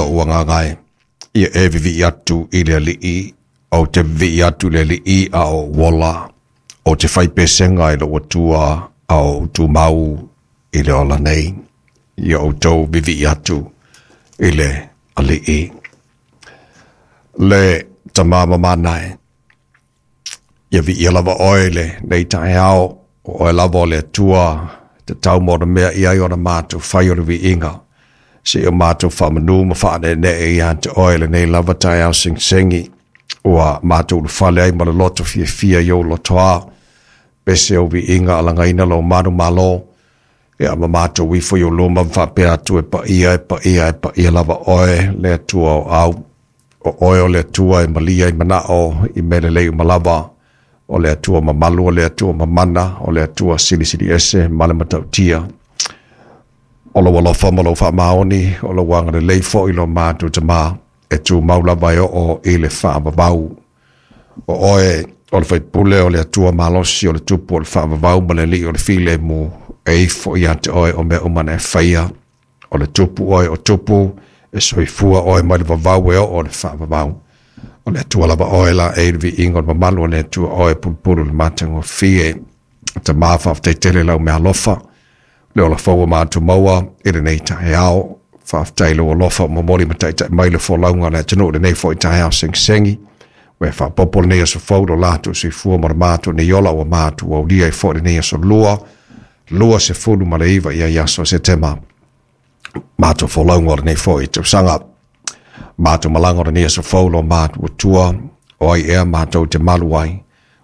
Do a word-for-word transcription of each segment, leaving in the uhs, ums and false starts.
Lou agaga e, ia e vivi'i atu i le Alii, ou te vivi'i atu i le Alii a o ou ola, ou te fai pesega i lou Atua a o ou tumau i le ola nei. Ia outou vivi'i atu i le Alii. Le Tama mamana e, ia viia lava oe i lenei taeao, o oe lava o le Atua e tatau ma ona mea i ai ona matou fai o le viiga. Se i o matou faamanu ma faaneenee ia te oe lenei lava taeao segisegi, ua matou ulufale ai ma le loto fiafia i ou lotoa, pese ou viiga alagaina lou manumalo, ia ma matou ifo i ou luma ma faapea atu e paia, e paia, e paia lava oe le Atua o au. O oe o le Atua e malia i manao i mea lelei uma lava, o le Atua mamalu, o le Atua mamana, o le Atua silisili ese ma le matautia. O lou alofa ma lou faamaoni, o lou agalelei foi lo matou Tama, e tumau lava e oo i le faavavau. O oe o le faipule o le Atua malosi, o le tupu o le faavavau ma le alii o le filemu, e ifo ia te oe o mea uma na e faia. O le tupu oe o tupu, e soifua oe mai le vavau e oo le faavavau. O le Atua lava oe la e i le viiga o le mamalu o le Atua oe pulupulu le matagofie. Tama faafetai tele lau meaalofa, le ola fou ua matou maua i lenei taeao. Faafetai lou alofa ua momoli ma taitai mai le folauga a le atunuu i lenei foi taeao segisegi. Ua e faaopoopo lenei aso fou lo latou soifua ma le matou nei ola ua matou aulia ai foi lenei aso lua, lua sefulu ma le iva ia aso o Setema. Matou folauga o lenei foi tausaga. Matou malaga o lenei aso fou lo matou Atua, o ai ea matou te malu ai,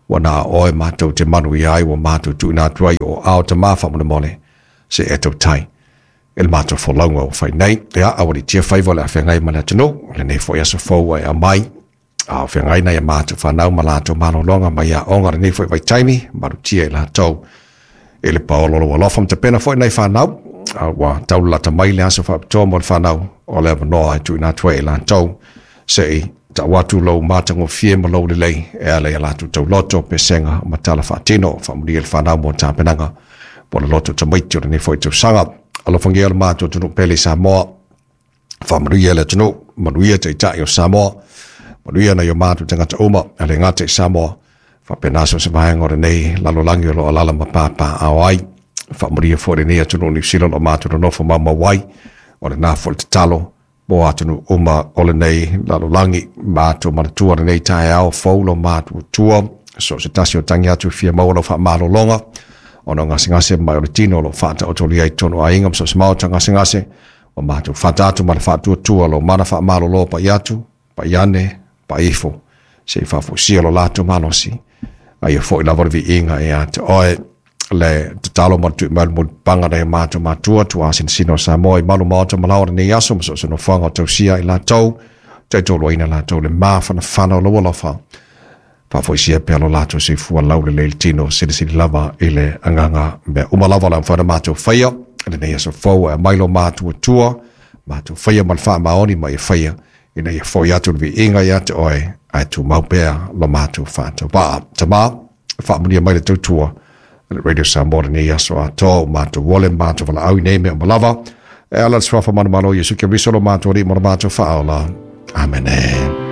ua na o oe matou te manuia ai, ua matou tuuina atu ai o ao Tama faamolemole, se e tautai e le matou folauga ua fai nei. Ia, aualiitia faiva o le afeagai ma le atunuu, lenei foi aso fou ua e aumai, a o feagai nai a matou fanau ma latou malologa mai aoga lenei foi vaitaimi, malutia i latou i le paolo o lou alofa ma tapena foi nai fanau, a ua taulalata mai le aso faapitoa mo le fanau, o le avanoa e tuuina atu ai i latou, se i tau atu lou matagofie ma lou lelei e ala i a latou tauloto, pesega ma tala faatino, faamulia le fanau mo tapenaga mo le loto tamaiti o lenei foi tausaga. Alofagia le matou atunuu pele i Samoa, faamanuia le atunuu, manuia taitai o Samoa, manuia nai o matou tagata uma, e le gata i Samoa, faapena so se vaega o lenei lalolagi o lo o alaala ma papaaao ai. Faamanuia foi lenei atunuu o Niu Sila o lo o matou nonofo maumau ai, o lena foi le tatalo mo atunuu uma o lenei lalolagi. Matou manatua lenei taeao fou lo matou Atua, so se tasi o tagi atu e fia maua lau faamalologa, ona o gasegase mai o le tino o lo o faataotolia i totonu o aiga ma so o se maota gasegase, ua matou fata atu ma le faatuatua lou mana faamalolo pai atu, pai ane, pai ifo, se i faafoisia lo latou malosi. A ia foi lava le viiga ia te oe, le tatalo ma le tui mai le mulipapaga nai o matou matua, tuasinosino o Samoa i malu maota ma laoa lenei aso, ma so o se nofoaga o tausia i latou, taitoluaina latou le mafanafana o lou alofa. Faafoisia pea lo latou soifua laulelei i le tino, silisili lava i le agaga mea uma lava o le a mafai ona matou faia lenei aso fou, e aumai lo matou Atua, matou faia ma le faamaoni ma ia faia, ina ia foi atu le viiga ia te oe, ae tumau pea lo matou faatauvaa. Tama, faamanuia mai le tautua le Radio Samoa lenei aso atoa, o matou ole ma matou valaau i nei mea uma lava, e ala i le suafa manumalo o Iesu Keriso lo matou Alii ma lo matou Faaola. Amene.